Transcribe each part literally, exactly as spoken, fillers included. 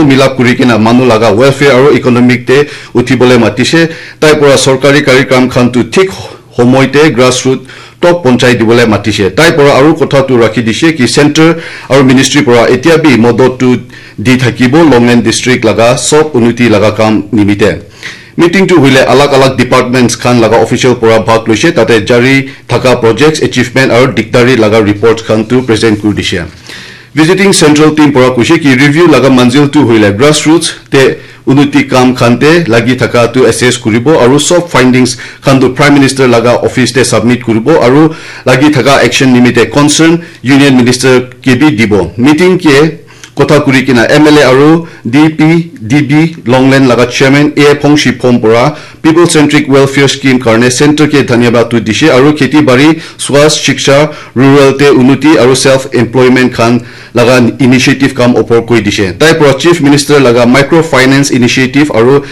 milap kuri kena manu laga welfare aru economic te uthibole matishe. Tai para sorkari karikram khan tu thik homoi te grassroot tok ponchai dibole matishe. Tai para aru kotha tu rakhi dishe ki center aru ministry para etia bi modot tu di thakibo Longlen district laga sob unnoti laga kam nimite. Meeting tu hoile alag alag departments khan laga official para bhag loise, tate jari thaka projects, achievement aru dikdari laga report khan tu present kuri dishe. Visiting central team para koise ki review laga manzil tu hoile grassroots te unnoti kam khan te lagi thaka tu assess kuribo aru sob findings khan tu Prime Minister laga office te submit kuribo aru lagi thaka action nimite concern Union Minister ke bi dibo. Meeting ke kotha kuri kena M L A aru D P D B Longlen laga chairman A Phongshi Phom para people centric welfare scheme karne center ke dhanyabad tu dishe aru kheti bari, swasth, shiksha, rural te unnoti aru self employment khan laga initiative kam opor koi dishe. Tai para Chief Minister laga micro finance initiative aru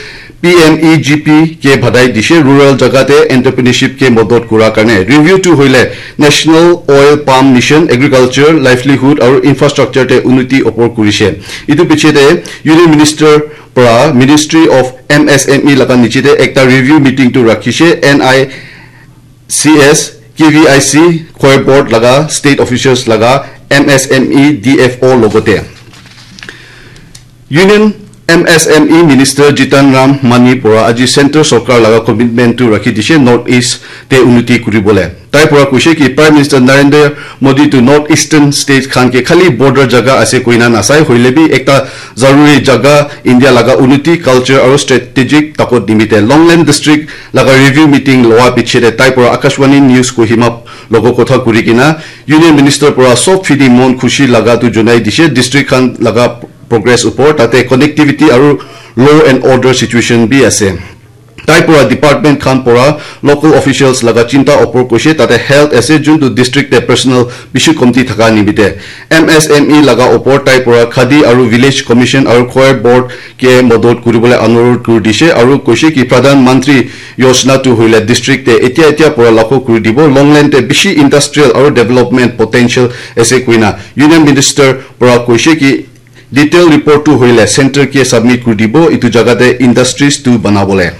P M E G P ke badai dishe, rural jaga te entrepreneurship ke modot kura karne. Review tu hoile National Oil Palm Mission, agriculture, livelihood aru infrastructure te unnoti opor kurishe. Itu piche te Union Minister para Ministry of M S M E laga niche te ekta review meeting tu rakhishe, N I C S, K V I C, Khoi Board laga state officials laga M S M E D F O logote. Union M S M E Minister Jitan Ram Mani para aji center sorkar laga commitment tu rakhi dishe North East te unnoti kuribole. Tai para koise ki Prime Minister Narendra Modi tu North Eastern state khan ke khali border jaga ase koina nasai, hoile bi ekta zaruri jaga India laga unnoti, culture aru strategic takot nimite Longlen district laga review meeting lowa piche te tai para Akashvani News Kohima logo kotha kuri kena Union Minister para sob phidi mon khushi laga tu jonai dishe district khan laga progress upor, tate connectivity aru law and order situation bi ase. Tai para department khan para local officials laga chinta opor koise, tate health ase juntu district te personal bishi komti thaka nimite M S M E laga opor tai para Khadi aru Village Commission aru Khoi Board ke modot kuribole anurod kuri dishe aru koise ki Pradhan Mantri Yojana tu hoile district te etia etia para lakho kuri dibo, Longlen te bishi industrial aru development potential ase koina Union Minister para koise ki detail report tu hoile center ke submit kuri dibo, itu jaga te industries tu banabole.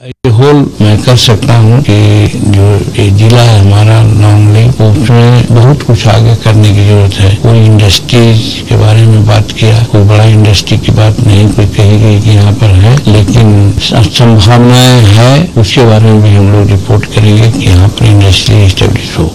ये होल मैं कर सकता हूँ कि जो ये जिला है हमारा लॉन्गलेंग, उसमें बहुत कुछ आगे करने की जरूरत है। कोई इंडस्ट्रीज के बारे में बात किया, कोई बड़ा इंडस्ट्री की बात नहीं कोई कही गई कि यहाँ पर है, लेकिन स-, संभावनाएं है, उसके बारे में भी हम लोग रिपोर्ट करेंगे कि यहाँ पर इंडस्ट्री एस्टेब्लिश हो।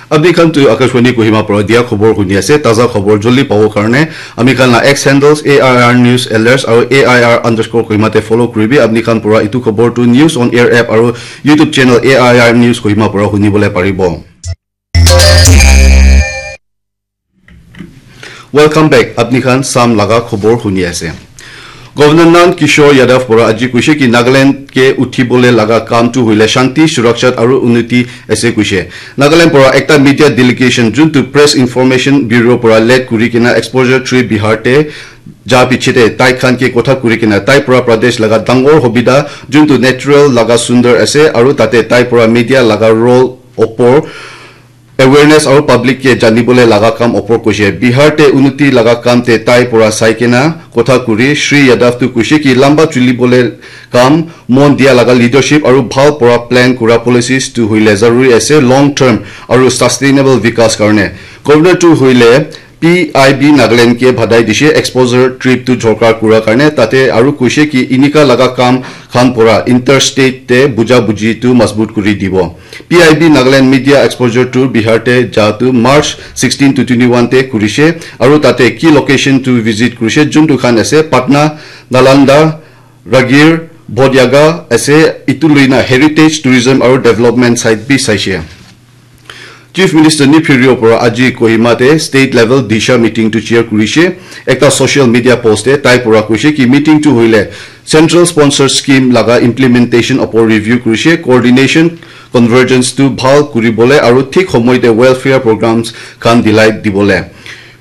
Apni khan tu Akashvani Kohima para dia khobor huni ase, taza khobor joldi pabo karne ami khan la X handles A I R News Alerts aru A I R underscore Kohima te follow kuribi. Apni khan para itu khobor tu News on Air app aru YouTube channel A I R News Kohima para huni bole paribo. Welcome back. Apni khan Sam laga khobor huni ase. Governor Nand Kishore Yadav para aji koise ki Nagaland ke uthibole laga kam tu hoile shanti, surakshat aru unnoti ase koise. Nagaland para ekta media delegation juntu Press Information Bureau para led kuri kena exposure trip Bihar te ja piche te tai khan ke kotha kuri kena tai para Pradesh laga dangor hobida juntu natural laga sundar ase aru tate tai para media laga role opor awareness aru public ke janibole laga kam opor koise. Bihar te unnoti laga kam te tai para sai kena kotha kuri Shri Yadav tu koise ki lamba chulibole kam mon dia laga leadership aru bhal para plan kura policies tu hoile zaruri ase long term aru sustainable vikas karne. Governor tu hoile P I B Nagaland ke badai dishe exposure trip tu jorkar kura karne, tate aru koise ki inika laga kam khan para interstate te buja buji tu mazbut kuri dibo. P I B Nagaland Media Exposure Tour Bihar te ja tu March sixteen to twenty-one te kurishe aru tate ki location tu visit kurishe juntu khan ase Patna, Nalanda, Ragir, Bodh Gaya ase, itu loina heritage, tourism aru development site bi saishe. Chief Minister Neiphiu Rio para aji Kohima te state level Disha meeting tu chair kurishe. Ekta social media post te tai para koise ki meeting tu hoile central sponsored scheme laga implementation opor review kurishe, coordination, convergence tu bhal kuribole aru thik homoi te welfare programs khan dilai dibole.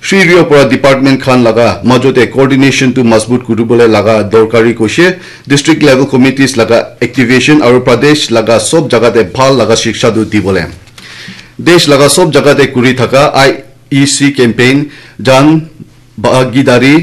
Shri Rio para department khan laga majote coordination tu mazbut kuribole laga dorkari koise, district level committees laga activation aru Pradesh laga sob jaga te bhal laga shiksha tu dibole. Desh laga sob jaga te kuri thaka I E C campaign Jan Bhagidari